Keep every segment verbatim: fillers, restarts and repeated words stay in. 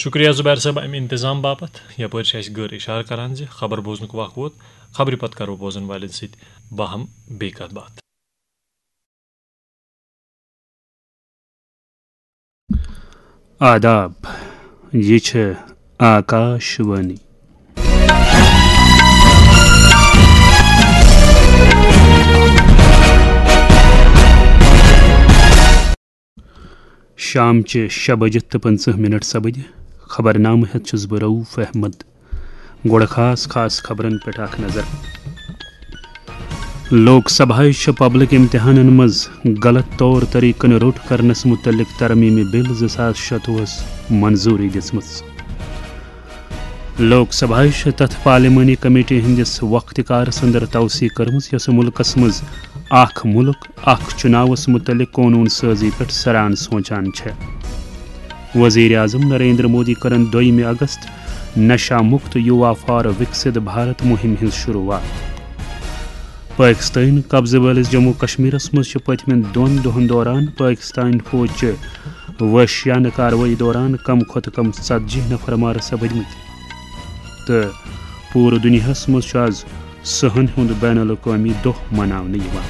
شکریہ زبیر صٲب، امہِ انتظام باپتھ۔ یپٲرۍ چھِ اَسہِ گٔر اشارٕ کران زِ خبر بوزنُک وق ووت۔ خبرِ پتہٕ کرو بوزن والٮ۪ن سۭتۍ باہم بیٚیہِ کتھ باتھ۔ آداب، یہِ چھِ آکاش وانی۔ شام چہِ شےٚ بجہِ تہٕ پٕنٛژٕہ منٹ سپدِ۔ خبرنامہٕ ہٮ۪تھ چھُس بہٕ رؤف احمد۔ گۄڈٕ خاص خاص خبرن پٮ۪ٹھ اکھ نظر۔ لوک سبھایہ چھِ پبلک امتحانن منٛز غلط طور طریقن روٚٹ کرنس متعلق ترمیمی بل زٕ ساس شتوُہس منظوری دِژمٕژ۔ لوک سبھایہ چھِ تتھ پارلیمانی کمیٹی ہٕنٛدِس وقتِ کارس اندر توسیع کٔرمٕژ، یۄسہٕ مُلکس منٛز اکھ مُلک، اکھ چُناوس مُتعلق قونوٗن سٲزی پٮ۪ٹھ سران سونچان چھےٚ۔ وزیر اعظم نریندر مودی کٔرٕن دوٚیمہِ اگست نشہ مکت یووا فار وکست بھارت مہم ہٕنٛز شروعات۔ پٲکستٲنۍ قبضہٕ وٲلِس جموں کشمیرس منٛز چھِ پٔتمٮ۪ن دۄن دۄہن دوران پٲکستٲنۍ فوج چہِ وحشیانہٕ کاروٲیی دوران کم کھۄتہٕ کم ژتجی نفر مارٕ سپٕدمٕتۍ۔ تہٕ پوٗرٕ دُنیاہس منٛز چھُ از صحن ہُنٛد بین الاقوٲمی دۄہ مناونہٕ یِوان۔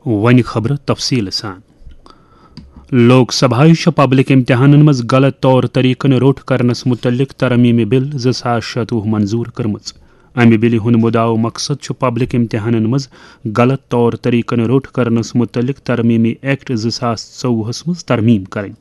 وۄنۍ خبرٕ تفصیٖل سان۔ لوک سبھایہ چھِ پبلک امتحانن منٛز غلط طور طریقن روٚٹ کرنس متعلق ترمیمی بل زٕ ساس شتوُہ منظور کٔرمٕژ۔ امہِ بلہِ ہُنٛد مُدعا و مقصد چھُ پبلک امتحانن منٛز غلط طور طریقن روٚٹ کرنس متعلق ترمیمی ایکٹ زٕ ساس ژوٚوُہس منٛز ترمیم کرٕنۍ۔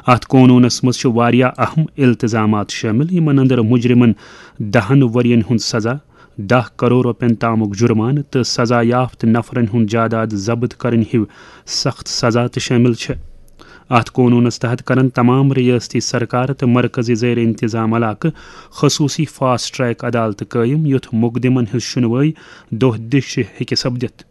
اتھ قونوٗنس منٛز چھِ واریاہ اہم التزامات شٲمِل، یِمن اندر مجرمن دہن ؤرین ہُنٛد سزا، دَہ کرور رۄپین تامُک جُرمانہٕ تہٕ سزا یافتہٕ نفرن ہُنٛد جاداد ضبط کرٕنۍ ہِوۍ سخت سزا تہِ شٲمِل چھِ۔ اتھ قونوٗنس تحت کرن تمام ریاستی سرکار تہٕ مرکزی زیر انتظام علاقہٕ خصوٗصی فاسٹ ٹریک عدالتہٕ قٲیِم، یُتھ مقدمن ہٕنٛز شُنوٲیی دۄہ دِش ہیٚکہِ سپدِتھ۔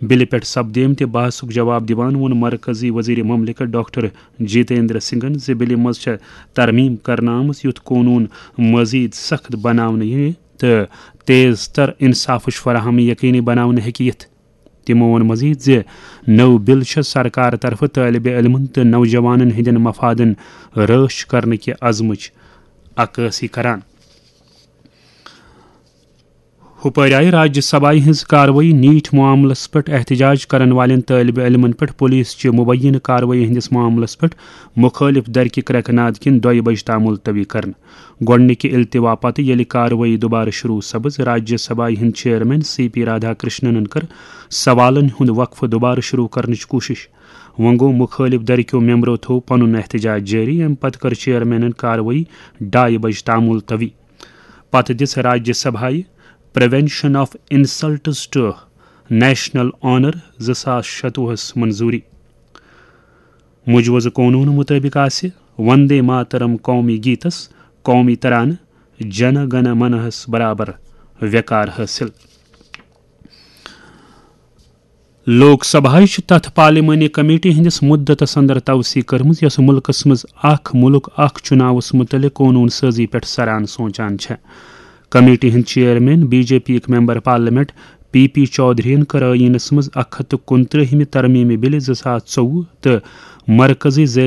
بلہِ پٮ۪ٹھ سپدیمتہِ بحثُک جواب دِوان ووٚن مرکزی وزیر مملکت ڈاکٹر جتیندر سنگھن زِ بلہِ منٛز چھےٚ ترمیم کرنہٕ آمٕژ، یُتھ قونوٗن مزید سخت بناونہٕ یِیہِ تہٕ تیز تر انصافٕچ فراہمی یقینی بناونہٕ ہیٚکہِ یِتھ۔ تِمو ووٚن مزید زِ نٔو بل چھےٚ سرکار طرفہٕ طٲلبِ علمن تہٕ نوجوانن ہٕنٛدٮ۪ن مفادن رٲچھ کرنہٕ کہِ عزمٕچ عکٲسی کران۔ ہُپٲرۍ آیہِ راجیہ سبھایہ ہٕنٛز کاروٲیی نیٖٹ معاملس پٮ۪ٹھ احتجاج کرن والٮ۪ن طٲلبِ علمن پٮ۪ٹھ پُلیٖس چہِ مُبینہٕ کاروٲیی ہٕنٛدِس معاملس پٮ۪ٹھ مُخٲلِف درکہِ کرٛٮ۪کہٕ ناد کِنۍ دۄیہِ بجہِ تام مُلتوی کرنہٕ۔ گۄڈٕنِکہِ التوا پتہٕ ییٚلہِ کاروٲیی دُبارٕ شروع سپٕز، راجیہ سبھایہ ہٕنٛدۍ چیئرمین سی پی رادھا کرشننن کٔر سوالن ہُنٛد وقفہٕ دُبارٕ شروع کرنٕچ کوٗشش۔ وۄنۍ گوٚو مُخٲلِف درکیو ممبرو تھوو پنُن احتجاج جٲری، اَمہِ پتہٕ کٔر چیئرمینن کاروٲیی ڈایہِ بجہِ تام مُلتوی۔ پتہٕ دِژ راجیہ سبھایہ prevention of insults to national honour زٕ ساس شتوُہس منظوری۔ مجوزٕ قونوٗن مُطٲبِق آسہِ وندے ماترم قومی گیٖتس قومی ترانہٕ جن گن منہس برابر وقار حٲصِل۔ لوک سبھایہ چھِ تتھ پارلیمانی کمیٹی ہٕنٛدِس مُدتس اندر توسیع کٔرمٕژ، یۄسہٕ مُلکس منٛز اکھ مُلک اکھ چُناوس مُتعلق قونوٗن سٲزی پٮ۪ٹھ سران سونچان چھےٚ۔ کمیٹی ہٕنٛدۍ چیئرمین بی جے پی یِک ممبر پارلیمنٹ پی پی چودھرین کٔر ٲییٖنس منٛز اکھ ہتھ تہٕ کُنترٕہمہِ ترمیمی بلہِ زٕ ساس ژوٚوُہ تہٕ مرکزی زیر